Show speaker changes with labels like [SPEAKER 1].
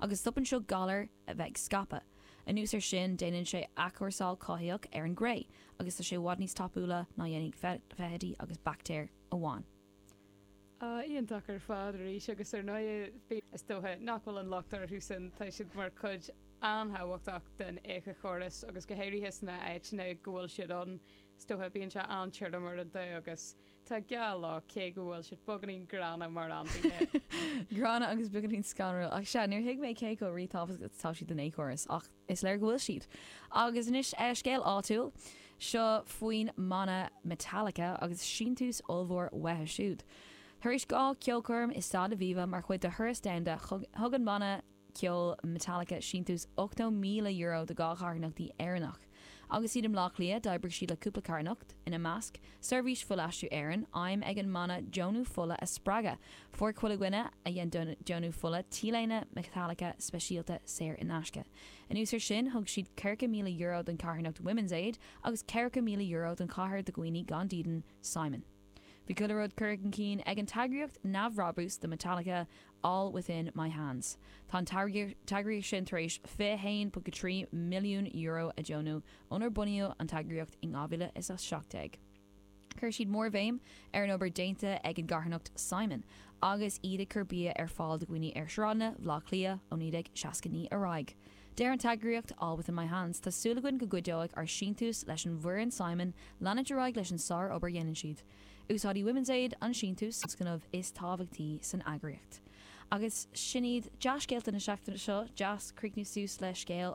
[SPEAKER 1] Agus stopann seo galair a bheith ag scaipeadh. Anuas ar sin, déanann sé athchúrsáil chothaitheach ar an gcré, agus tá sé i bhfad níos tapúla ná dhéanfaidh feithidí agus baictéir amháin.
[SPEAKER 2] Iontach ar fad arís agus ar ndóigh is dócha nach bhfuil an locht orthu sin, tá siad mar chuid an-thábhachtach den éiceachóras agus go háirithe sna áiteanna go bhfuil siad ann, is dócha bíonn sé an-tirim uaireanta agus tá gá leo cé go bhfuil siad beagáinín gránna mar ainmhithe.
[SPEAKER 1] Gránna agus beagáinín scanrúil ach sea, níor thuig mé cé chomh ríthábhachtach atá siad don éiceachóras ach Is léir go bhfuil siad. Agus anois scéal áitiúil. Seo faoin mbanna Metallica agus síntiús ollmhór uathu siúd. Tar éis 2 cheolchoirm i Staid Aviva mar chuid de thuras domhanda, thug an banna ceoil Metallica síntiús €80,000 do 2 charthanachtaí Éireannach. Agus iad i mBleá Cliath, d'oibrigh siad le cúpla carthanacht, ina measc, Seirbhís Fuilaistriú Éireann, aidhm ag an mbanna deonú fola a spreagadh. Fuair chuile dhuine a dhein deonú fola t-léine Metallica speisialta saor in aisce. Anuas ar sin, thug siad €40,000 don charthanacht Women's Aid agus €40,000 don chathair do dhaoine gan dídean, Simon. Bhí chuile rud curtha chun cinn ag an t-eagraíocht neamhbhrabús do Metallica, All Within My Hands. Tá an t-eagraíocht sin tar éis €21.3 milliún a deonú ónar bunaíodh an t-eagraíocht in 2017. Chuir siad mórbhéim ar an obair déanta ag an gcarthanacht Simon agus iad ag cur bia ar fáil do dhaoine ar shráideanna Bhaile Átha Cliath ó 1969 ar aghaidh. Deir an t-eagraíocht All Within My Hands, Tá súil againn go gcuideoidh ár síntiús leis an bhfoireann Simon leanúint ar aghaidh leis an sár-obair a dhéanann siad. Úsáidfidh Women's Aid an síntiús. tionscnamh is tábhachtaí san eagraíocht. Agus sin iad dea-scéalta na seachtaine seo. Deas críochnú suas le scéal.